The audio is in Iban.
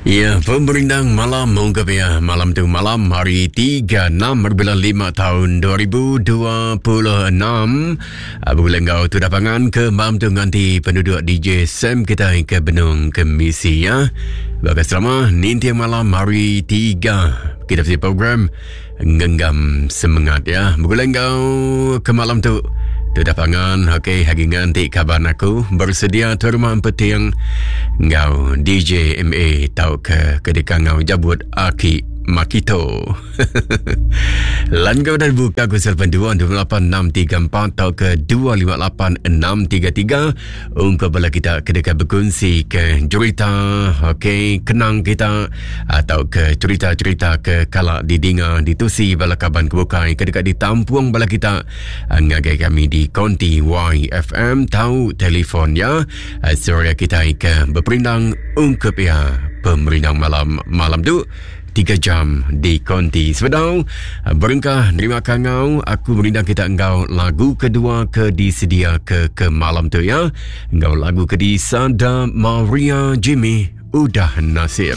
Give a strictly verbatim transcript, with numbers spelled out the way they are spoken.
Ya, pemerindang malam ungkap ya. Malam tu malam hari tiga enam bulan lima tahun dua ribu dua puluh enam. Bulan ngau tu dapangan ke malam tu nganti penduduk D J Sam kita ke benung ke misi ya. Bagai selama ninti malam hari tiga kita mesti program ngenggam semangat ya. Bulan ngau ke malam tu tu dapangan, okey, hari nganti kaban aku bersedia terima peting ngau D J M A tau ke kedeka ngau jabut aki Makito. Lan kau dah buka ku telefon dua dua lapan enam tiga empat atau ke dua lima lapan enam tiga tiga untuk bala kita kedeka berkongsi ke cerita, okey, kenang kita atau ke cerita-cerita ke kalak didinga ditusi bala kaban kebukai kedeka ditampung bala kita ngagai kami di Konti Y F M tau telefon ya. Suara kita ke berperindang ungkup ya pemerindang malam malam tu tiga jam di Konti. Sebedau berengkah nerima kangau, aku merindang kita engkau lagu kedua ke disedia ke ke malam tu ya. Engkau lagu ke di Sada Maria Jimmy Udah Nasib.